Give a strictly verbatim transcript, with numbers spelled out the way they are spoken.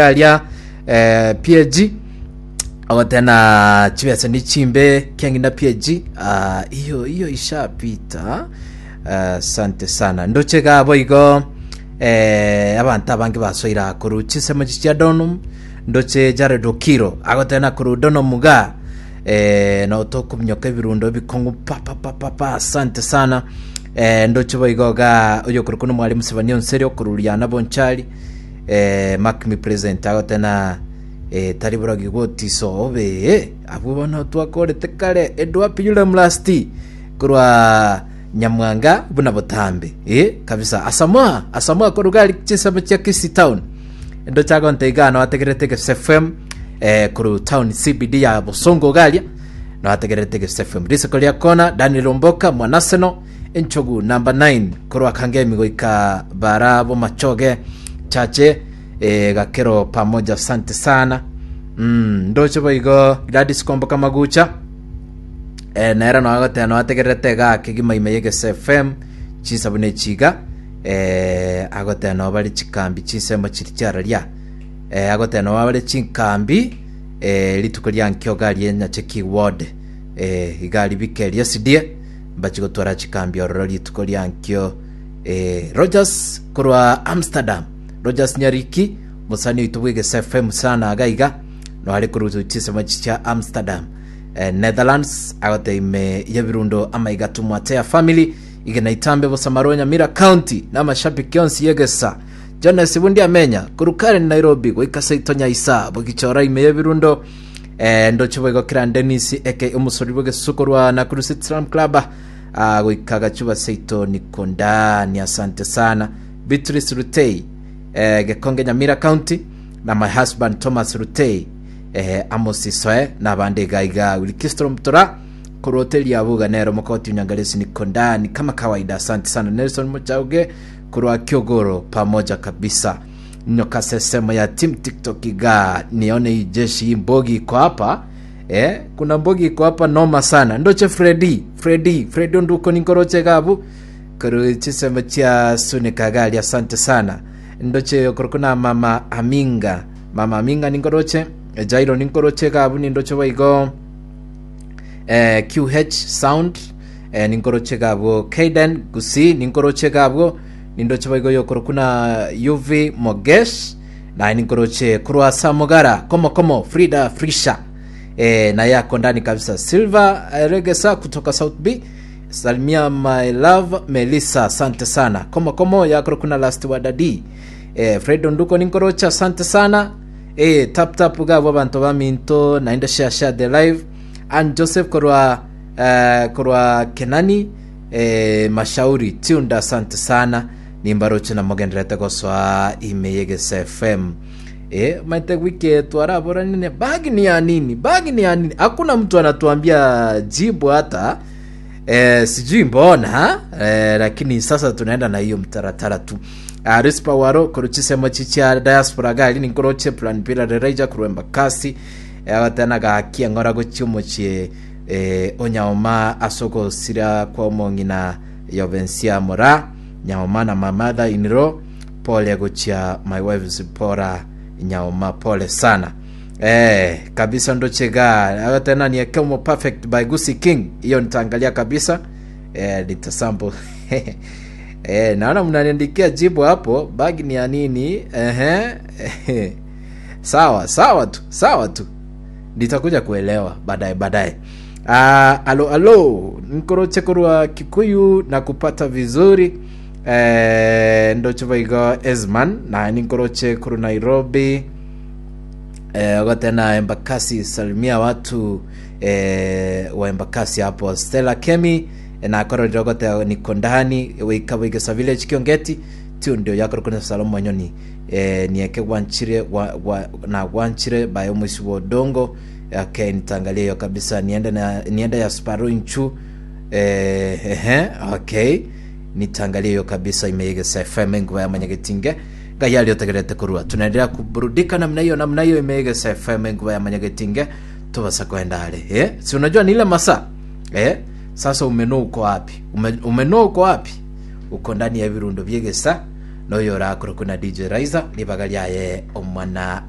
Aria eh, P A G ogotena chibesa ni chimbe kiang'ina P A G. Ah, iyo iyo ishapita. Asante sana, ndoche gabo igo eh, abanto abange basoira koru chinsemo chia Donum. Ndoche Jared Okiro agotena koru Donum ga eh, no tokominyoka ebirundo ebikong'u pa pa pa pa pa. Asante sana. eh, ndoche boigo ga oyokorokwa na mwalimu Sebania Onseri okoruriana Bonchari, eh, mark me present, agotena eh, tari boragi gotiso obe abwo bono twakorete kare. Edwapi yule mlasti korwa Nyamwanga buna botambe eh, kabisa. Asamoa, Asamoa korugari chisemo chia Kisii town, ndo chagonte igano ategerete Gese F M eh, koru town C B D ya Bosongo garia no ategerete Gese F M. Risiko lia kona Daniel Omboka mwanaseno enchogu number nine korwa Kangemi goika bara bomachoge chache eh, gakero pamoja. Asante sana. mm, ndoche boigo Gladys Komboka Magucha eh, nero no agoteba no ategerete gake gima ime yegese F M chisabune chiga eh, agoteba no bari chikambi chinsemo chiri chiararia eh, agoteba no bare chinkambi eh, rituko ria nkio gari Nyacheki ward eh, igari bikeria S D A mbachigotwara chikambi ororo rituko ria nkio. eh, Rogers korwa Amsterdam, Rogers Nyariki musani oito bwegese F M sana agaiga no ari korutu chisemo chia Amsterdam, eh, Netherlands, agote ime yebirundo amaiga tumwatea family igena itambe bosamaro Nyamira County na amashabiki onsi yegesa. Jonas Bundi amenya kurukare Nairobi goika seito nyaisa bogichora ime yebirundo. eh, ndoche boigo kiran Dennis eke omusori bwegesuko rwa Nakuru City Slam Club, ah, goika gachuba seito nikondani. Asante sana. Beatrice Rutei, eh, Gekonge, Nyamira County, na my husband Thomas Rutei, eh, Amos Isoe n'abandi gaiga Wilkistro Mutora korwa hoteli ya Buga nero mokoti unyangalesi nikondani kama kawaida. Asante sana. Nelson Muchauge korwa Kiogoro, pamoja kabisa. Nyoka sesemo ya team TikTok iga nione hii jeshi, hii mbogi iko hapa. eh, kuna mbogi iko hapa noma sana. Ndoche Fredi, Fredi, Fredi nduko ninkoroche gabu koru chisemo chia Sunika gali. Asante sana. Ndoche korokuna mama Aminga, mama Aminga ninkoroche, Jairo ninkoroche gabu. Nindoche waigo eh, Q H sound, eh, ninkoroche gabwo. Kaden Gusi ninkoroche gabwo. Nindoche baigo yokorokuna U V Mogesh naye ninkoroche kurwa Samugara komo komo. Frida Frisha, eh, naye ako ndani kabisa. Silva eh, Regesa kutoka South B, salimia my love Melissa. Asante sana. Komo komo yakorokuna last wadadi, eh, Fred Nduko ninkoroche. Asante sana. eh, tap tap gabo abantu baminto naende share, share the live. Ann Joseph korwa eh, korwa Kenani, eh, Mashauri Tunda, asante sana. Nimbaroche namogenderete gosoa ime yegese F M. eh, maite wiki twarabora nini, bagi ni ya nini, bagi ni ya nini, hakuna mtu anatuambia jibu hata eh, sijui mbona eh, lakini sasa tunaenda na hiyo mtaratara tu. uh, rispa waro koruchisemo chichia diaspora gali ninkoroche plan pila rereja kurwemba kasi abatana gakia ngora gochi omochie eh, onyaoma asogosira kwa omong'ina Yobensia Mora Nyaoma na my mother in law. Pole gochia my wife Zipora Nyaoma, pole sana eh, kabisa. Ndochega abatana ni Ekemo Perfect by Gusi King, hiyo nitaangalia kabisa, eh, nitasample. eh, naona mnaniandikia jibu hapo, bagi ni ya nini? Ehe, sawa sawa tu, sawa tu, nitakuja kuelewa baadaye baadaye. Uh, alo alo, nkoroche korwa Kikuyu na kupata vizuri. eh, ndoche baigo Esman na ninkoroche koru Nairobi. eh, ogotena Embakasi, salimia watu eh, wa Embakasi hapo. Stella Kemi eh, na kororire ogote niko ndani wika wigesa village Kiongeti tiu ndio yakorokuna Salomo Nyoni eh, nieke wanchire wa, wa, na wanchire bayo mwisi wa odongo. Okay, nitaangalia hiyo kabisa. Niende na niende ya Sparrow inchu. eh, ehe, okay, nitaangalia hiyo kabisa. Imeigesa F M, nguva ya manyagetinge ngai aliotegerete kurua. Tunaendelea kuburudika namna hiyo namna hiyo. Imeigesa F M, nguva ya manyagetinge. Tubasa kwenda ale eh? Si unajua ni ile masaa eh? Sasa umeno uko wapi? Ume, umeno uko wapi? Uko ndani ya birundo byegesa noyo orakora kuna D J Raiza nibaga lyaye omwana.